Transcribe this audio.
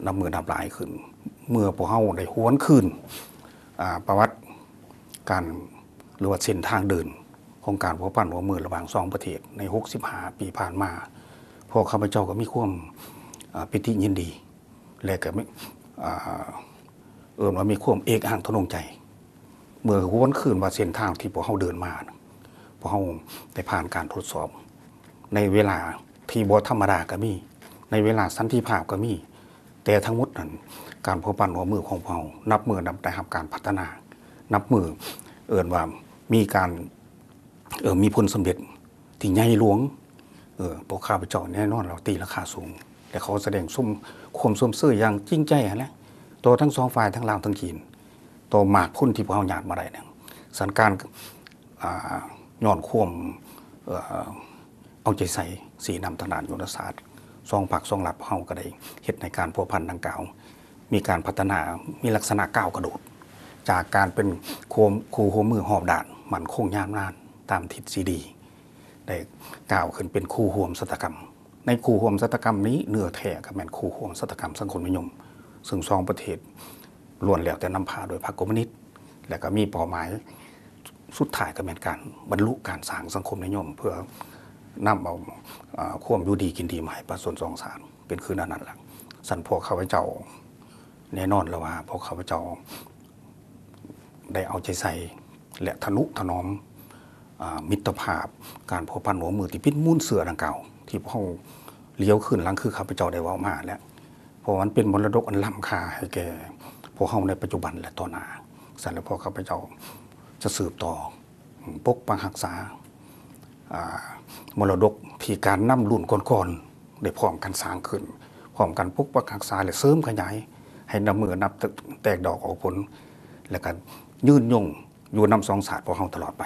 ນັບມື້ນັບຫຼາຍຂຶ້ນ ເມື່ອພວກເຮົາໄດ້ຫວນຄືນ ອາ ປະຫວັດການ ຫຼືວ່າເສັ້ນທາງເດີນຂອງການພົວພັນຮ່ວມມືລະຫວ່າງສອງປະເທດໃນຫົກສິບຫ້າປີຜ່ານມາ, ພວກຂ້າພະເຈົ້າກໍມີຄວາມ ອາ ປີຕິຍິນດີ ແລະກໍມີ ອາ ເອີ້ນວ່າມີຄວາມເອກອ້າງທະນົງໃຈ ເມື່ອຫວນຄືນວ່າເສັ້ນທາງທີ່ພວກເຮົາເດີນມານະ ພວກເຮົາໄດ້ຜ່ານການທົດສອບ ໃນເວລາທີ່ບໍ່ທຳມະດາກໍມີ, ໃນເວລາສັນຕິພາບກໍມີ, ແຕ່ທັງໝົດນັ້ນ ການພົວພັນຮ່ວມມືຂອງພວກເຮົາ ນັບມື້ນັບໄດ້ຮັບການພັດທະນາ, ນັບມື້ເອີ້ນວ່າມີການ ເອີ ມີຜົນສຳເລັດທີ່ໃຫຍ່ຫຼວງ. ເອີ ພວກຂ້າພະເຈົ້າແນ່ນອນວ່າຕີລາຄາສູງ ແລະ ຂໍສະແດງຊົມ ຄວາມຊົມເຊີຍຢ່າງຈິງໃຈຫັ້ນແຫຼະ ຕໍ່ທັງສອງຝ່າຍ ທັງລາວ ທັງຈີນ ຕໍ່ໝາກຜົນທີ່ພວກເຮົາຍາດມາໄດ້ນັ້ນ. ສະນັ້ນການ ອາ ຍ້ອນຄວາມ ເອີ ເອົາໃຈໃສ່ຊີ້ນຳທາງດ້ານຍຸດທະສາດ ສອງພັກສອງລັດ ພວກເຮົາກໍໄດ້ເຮັດໃຫ້ການພົວພັນດັ່ງກ່າວ ມີການພັດທະນາ ມີລັກສະນະກ້າວກະໂດດ ຈາກການເປັນຄູ່ ຄູ່ຮ່ວມມືຮອບດ້ານ ໝັ້ນຄົງຍາວນານຕາມທິດຊີດີ ໄດ້ກ້າວຂຶ້ນເປັນຄູ່ຮ່ວມຊະຕາກຳ. ໃນຄູ່ຮ່ວມຊະຕາກຳນີ້ ເນື້ອແທ້ກໍແມ່ນຄູ່ຮ່ວມຊະຕາກຳສັງຄົມນິຍົມ ເຊິ່ງສອງປະເທດລ້ວນແລ້ວແຕ່ນຳພາໂດຍພັກຄອມມູນິດ ແລະກໍມີເປົ້າໝາຍສຸດທ້າຍກໍແມ່ນການບັນລຸການສ້າງສັງຄົມນິຍົມ ເພື່ອນຳເອົາ ອາ ຄວາມຢູ່ດີກິນດີມາໃຫ້ປະຊາຊົນສອງຊາດ ເປັນຄືແນວນັ້ນລະ. ຊັ້ນພວກຂ້າພະເຈົ້າ ແນ່ນອນແລ້ວວ່າພວກຂ້າພະເຈົ້າໄດ້ເອົາໃຈໃສ່ ແລະ ທະນຸຖະໜອມ ອາ ມິດຕະພາບ ການພົວພັນຮ່ວມມືທີ່ເປັນມູນເຊື້ອດັ່ງກ່າວ ທີ່ພວກເຮົາຫຼຽວຄືນຫຼັງຄືຂ້າພະເຈົ້າໄດ້ເວົ້າມາແລ້ວ ເພາະວ່າມັນເປັນມໍລະດົກອັນລ້ຳຄ່າໃຫ້ແກ່ພວກເຮົາໃນປັດຈຸບັນ ແລະ ຕໍ່ໜ້າ. ຊັ້ນແລ້ວພວກຂ້າພະເຈົ້າຈະສືບຕໍ່ ປົກປັກຮັກສາ ອາ ມໍລະດົກທີ່ການນຳລຸ້ນກ່ອນໆ ໄດ້ພ້ອມກັນສ້າງຂຶ້ນ, ພ້ອມກັນປົກປັກຮັກສາ ແລະ ເສີມຂະຫຍາຍໃຫ້ນັບມື້ນັບແຕກດອກອອກຜົນ ແລະ ກໍຍືນຍົງຢູ່ນຳສອງຊາດພວກເຮົາຕະຫຼອດໄປ.